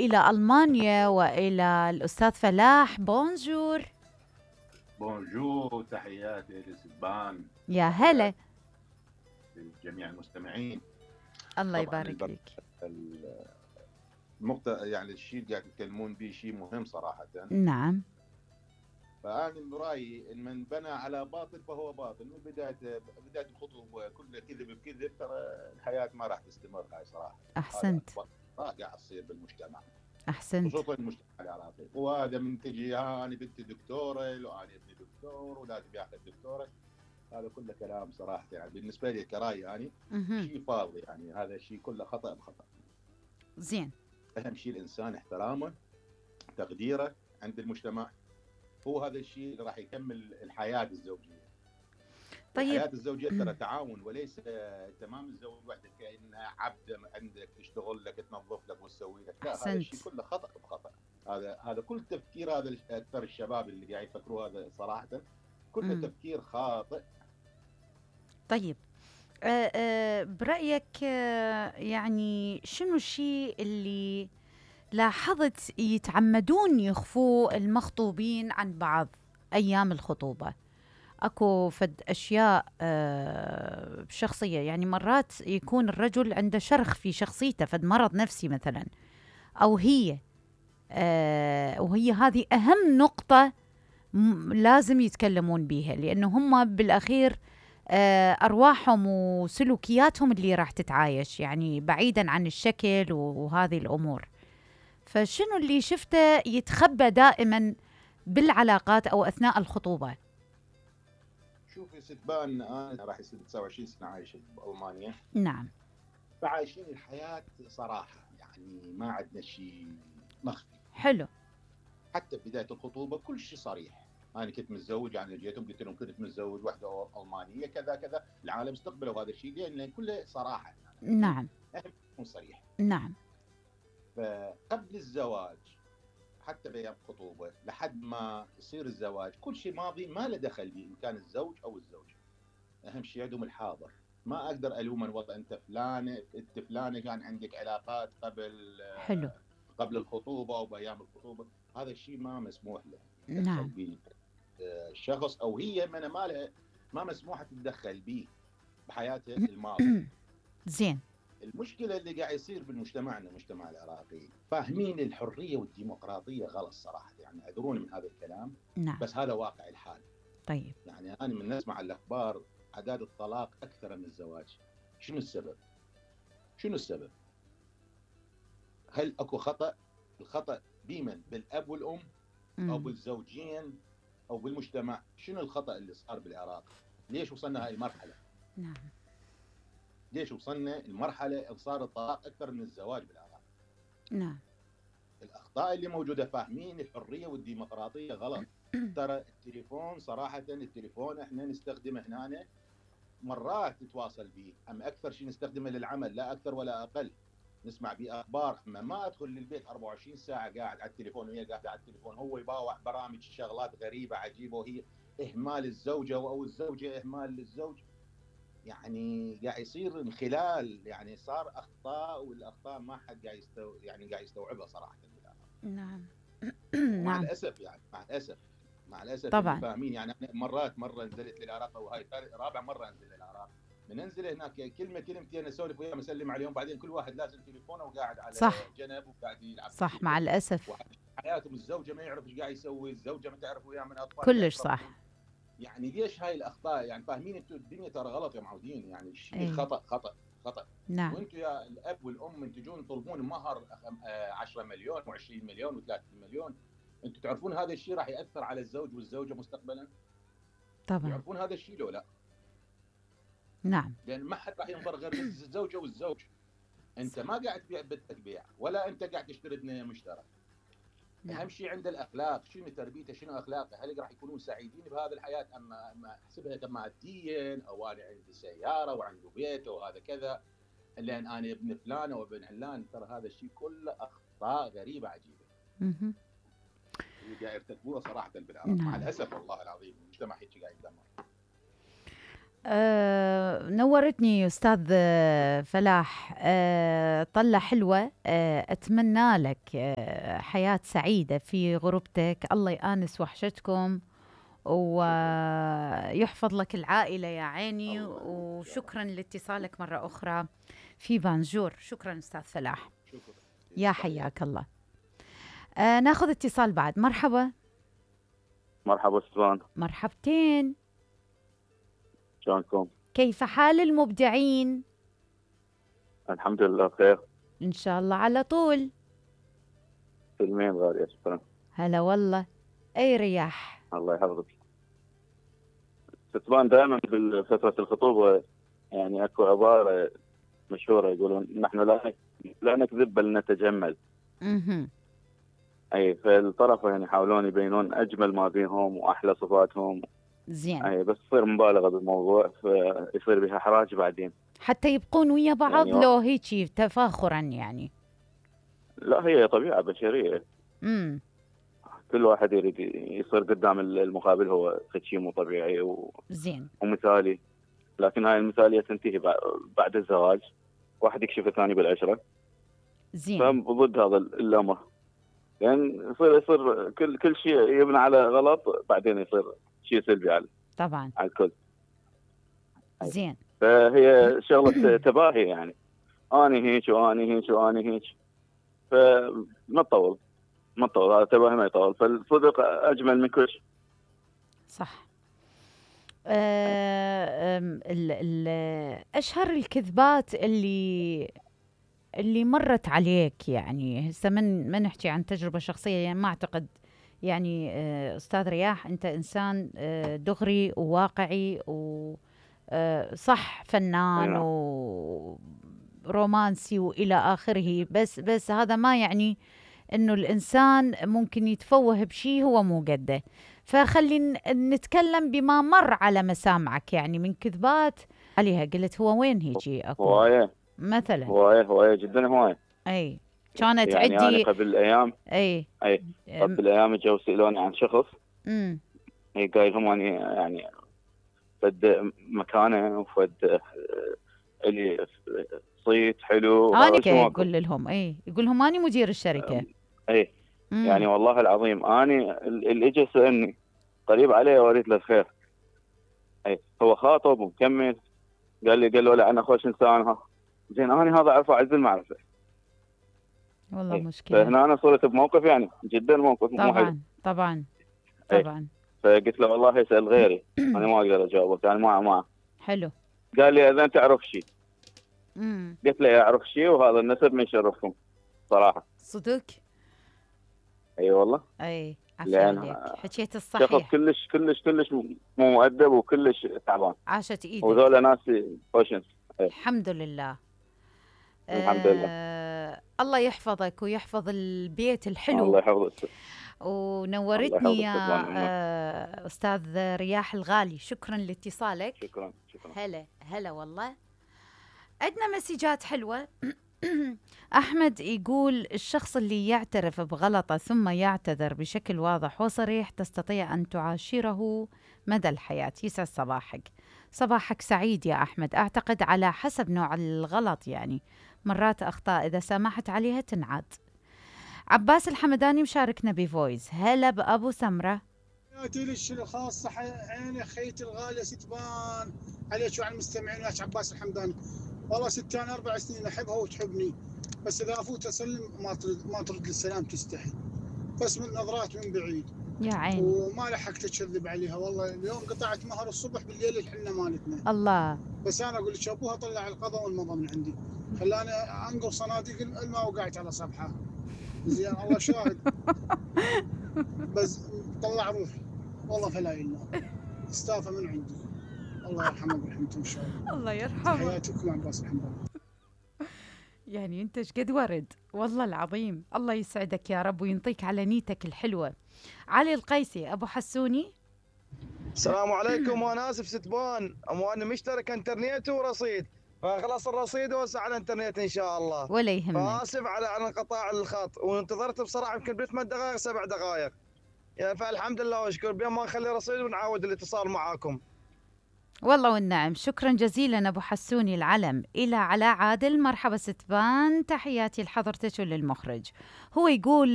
إلى ألمانيا وإلى الأستاذ فلاح. بونجور. بونجور، تحياتي لسبان، يا هلا. تحياتي لجميع المستمعين. الله طبعا يبارك فيك. النقطة يعني الشيء اللي قاعد يتكلمون به شيء مهم صراحة. نعم. فأنا برأيي إن من بنى على باطل فهو باطل. من بداية الخطوة كلها كذب بكذب، ترى الحياة ما راح تستمر. هاي صراحة أحسنت. هذا قاعد يصير بالمجتمع، أحسنت. خصوصا المجتمع العراقي. وهذا من تجي أنا بنتي دكتورة وأنا ابني دكتور ولازم ياخذ دكتورة، هذا كله كلام صراحة. يعني بالنسبة لي كرأي يعني شيء فاضي. يعني هذا الشيء كله خطأ بخطأ. زين. أهم شيء الإنسان احترامه، تقديره عند المجتمع، هو هذا الشيء اللي راح يكمل الحياة الزوجية. طيب. الحياة الزوجية ترى تعاون، وليس تمام الزوج وحدك كأنها عبد عندك تشتغل لك تنظف لك وتسوي لك. لا، هذا الشيء كله خطأ بخطأ. هذا كل تفكير، هذا أكثر الشباب اللي قاعد يفكروا هذا صراحة كله تفكير خاطئ. طيب، برأيك يعني شنو الشيء اللي لاحظت يتعمدون يخفوه المخطوبين عن بعض أيام الخطوبة؟ أكو فد أشياء شخصية، يعني مرات يكون الرجل عنده شرخ في شخصيته، فد مرض نفسي مثلا، أو هي وهي هذه أهم نقطة لازم يتكلمون بيها، لأنه هم بالأخير أرواحهم وسلوكياتهم اللي راح تتعايش، يعني بعيدا عن الشكل وهذه الأمور. فشنو اللي شفته يتخبى دائما بالعلاقات أو أثناء الخطوبة؟ شوفي ستبان، أنا راح يصير 29 سنة عايش بألمانيا. نعم. فعايشين الحياة صراحة، يعني ما عندنا شيء مخفي. حلو. حتى بداية الخطوبة كل شيء صريح. أنا كنت متزوج، أنا جيتهم قلت لهم كنت متزوج واحدة ألمانية كذا كذا. العالم استقبلوا هذا الشيء لأن كله صراحة. يعني نعم. يكون صريح. نعم. فقبل الزواج، حتى بأيام الخطوبة لحد ما يصير الزواج، كل شيء ماضي ما له دخل به، إن كان الزوج أو الزوجة. أهم شيء عندهم الحاضر. ما أقدر ألوم والله أنت فلانة كان عندك علاقات حلو. قبل الخطوبة أو بأيام الخطوبة. هذا الشيء ما مسموح له نعم. به الشخص، أو هي من ما مسموح تتدخل به بحياته الماضية. زين. المشكلة اللي قاعد يصير بالمجتمعنا، المجتمع العراقي، فاهمين الحرية والديمقراطية غلط صراحة. يعني اعذروني من هذا الكلام. نعم. بس هذا واقع الحال. طيب. يعني أنا من نسمع الأخبار أعداد الطلاق أكثر من الزواج. شنو السبب؟ شنو السبب؟ هل أكو خطأ؟ الخطأ بمن؟ بالأب والأم أو بالزوجين أو بالمجتمع؟ شنو الخطأ اللي صار بالعراق؟ ليش وصلنا هاي المرحلة؟ نعم. ليش وصلنا المرحلة صار الطلاق أكثر من الزواج بالعراق؟ نعم. الأخطاء اللي موجودة. فاهمين الحرية والديمقراطية غلط. ترى التليفون صراحة، التليفون احنا نستخدمه هنا مرات نتواصل به، أما أكثر شيء نستخدمه للعمل، لا أكثر ولا أقل. نسمع به أخبار، أما ما أدخل للبيت 24 ساعة قاعد على التليفون وهي قاعدة على التليفون. هو يباوع برامج شغلات غريبة عجيبة، وهي إهمال الزوجة أو الزوجة إهمال للزوج. يعني قاعد يصير انخلال، يعني صار أخطاء، والأخطاء ما حد قاعد يعني قاعد يستوعبها صراحة. نعم. ومع نعم. الأسف يعني مع الأسف طبعا. اللي فاهمين. يعني أنا مرة نزلت للعراق، وهاي رابع مرة أنزل للعراق. من انزل هناك كلمتين اسولف وياهم، اسلم عليهم، بعدين كل واحد لازم تليفونه وقاعد على صح. جنب وقاعد يلعب صح، مع الاسف. حياتهم. الزوجه ما يعرف ايش قاعد يسوي، الزوجه ما تعرف وياه من اطفال كلش صح. يعني ليش هاي الاخطاء؟ يعني فاهمين انتم الدنيا ترى غلط يا معودين. يعني الشيء خطا خطا خطا. نعم. وانتم يا الاب والام من تجون تطلبون مهر 10 مليون و20 مليون و30 مليون، انتم تعرفون هذا الشيء راح ياثر على الزوج والزوجه مستقبلا؟ طبعا. تعرفون هذا الشيء لو لا؟ نعم. لان ما حد راح ينظر غير الزوجه والزوج. انت ما قاعد تبيع بنتك بيع، ولا انت قاعد تشتري بنيه مشترى. نعم. اهم شيء عند الاخلاق. شنو تربيته؟ شنو اخلاقه؟ هل راح يكونون سعيدين بهذه الحياه؟ اما احسبها ماديا، او انا عندي سياره وعنده بيت وهذا كذا، لان انا ابن فلان وابن علان. ترى هذا الشيء كله اخطاء غريبه عجيبه. قاعد يرتكبوها صراحه بالعراق. نعم. مع الاسف والله العظيم المجتمع هيك قاعد يدمر. نورتني أستاذ فلاح. طلة حلوة. أتمنى لك حياة سعيدة في غربتك، الله يآنس وحشتكم ويحفظ لك العائلة يا عيني. وشكرا لاتصالك مرة أخرى في بانجور. شكرا أستاذ فلاح، شكرا. يا حياك الله. ناخذ اتصال بعد. مرحبا. مرحبا سلطان، مرحبتين. شلونكم؟ كيف حال المبدعين؟ الحمد لله بخير. إن شاء الله على طول. سلمين غالية، شكرا. هلا والله. أي رياح. الله يحفظك. ستبان دائما بفترة الخطوبة يعني اكو عبارة مشهورة يقولون نحن لا نكذب بل نتجمل. اي فالطرفين يحاولون يبينون اجمل ما بينهم واحلى صفاتهم. زين. اي بس تصير مبالغة بالموضوع فيصير بها احراج بعدين. حتى يبقون ويا بعض يعني لو هيجي تفاخرا يعني. لا هي طبيعة بشرية. كل واحد يريد يصير قدام المقابل هو شيء مو طبيعي زين ومثالي، لكن هاي المثالية تنتهي بعد الزواج، واحد يكشف الثاني بالعشرة. زين. فضد هذا الأمر، لأن يصير كل شيء يبنى على غلط بعدين يصير شيء سلبي على طبعا على الكل. زين. فهي شغلة تباهي يعني، أنا هيك وأنا هيك وأنا هيك، فما تطول هذا تباهي ما يطول، فالصدق أجمل من كل شيء. صح. أشهر الكذبات اللي مرت عليك يعني هسه، من نحكي عن تجربة شخصية يعني، ما أعتقد يعني أستاذ رياح أنت إنسان دغري وواقعي وصح فنان ورومانسي وإلى آخره، بس هذا ما يعني إنه الإنسان ممكن يتفوه بشيء هو مو قده. فخلي نتكلم بما مر على مسامعك يعني من كذبات عليها قلت هو وين هيجي أكو هواية مثلا. هواية جدا هواية. أي كانت يعني عندي أنا قبل أيام قبل أيام جو سألوني عن شخص. هي قايل لهم أني يعني فد مكانه وفد اللي صيت حلو. أنا يقول لهم يقول لهم أنا مدير الشركة. يعني والله العظيم أنا اللي اجى سألني قريب عليه واريد له الخير. هو خاطب ومكمل، قال له لا أنا خوش إنسان. زين أنا هذا أعرفه عز المعرفة والله مشكلة. فهنا أنا صرت بموقف يعني جدا موقف طبعا مو حلو. طبعا. فقلت له والله يسأل غيري أنا ما أقدر أجاوبك يعني ما حلو. قال لي إذا أنت تعرف شيء. قلت له أعرف شيء وهذا النسب من شرفكم صراحة. صدق. أي والله. عفوا عليك، حكيت الصحيح. شخص كلش مو مؤدب وكلش تعبان. عاشت ايدك. وذولا ناس خوشنس. الحمد لله. الحمد لله. الله يحفظك ويحفظ البيت الحلو. الله يحفظك. ونورتني يا أستاذ رياح الغالي. شكرا لاتصالك. شكرا. هلا والله. عندنا مسجات حلوة. أحمد يقول الشخص اللي يعترف بغلطه ثم يعتذر بشكل واضح وصريح تستطيع أن تعاشره مدى الحياة. يسعد صباحك. صباحك سعيد يا أحمد. أعتقد على حسب نوع الغلط يعني، مرات أخطاء إذا سمحت عليها تنعاد. عباس الحمداني مشاركنا بفويس. هلا بأبو سمرة. حياتي لك الخاصة عيني خيتي الغالية ستبان عليك وعلى المستمعين وياك عباس الحمداني. والله ستي أنا 4 سنين أحبها وتحبني، بس إذا أفوت أسلم ما ترد السلام تستحي، بس من نظرات من بعيد يا عيني. وما لحقت أكذب عليها. والله اليوم قطعت مهر الصبح بالليل الحنة مالتنا. الله. بس أنا أقول لك أبوها طلع القضاء والمضى من عندي، خلاني أنقل صناديق الماء وقعت على صبحة. زين الله شاهد. بس طلع روحي والله فلا إله استافى من عندي. الله يرحمه برحمته إن شاء الله. الله يرحمه. حياتكم عباس الحمد. يعني أنت شقد ورد والله العظيم. الله يسعدك يا رب وينطيك على نيتك الحلوة. علي القيسي أبو حسوني. السلام عليكم. وأنا آسف ستبان، وأنا مشترك انترنت ورصيد، فخلص الرصيد ووسع على الانترنت ان شاء الله. ولا يهمك. فاسف على انقطاع الخط، وانتظرت بصراحه يمكن ب 8 دقائق 7 دقائق يعني، فالحمد لله واشكر بما ما نخلي رصيد ونعاود الاتصال معاكم. والله والنعم. شكرا جزيلا أبو حسوني العلم. إلى علاء عادل. مرحبا ستبان، تحياتي لحضرتك وللمخرج. هو يقول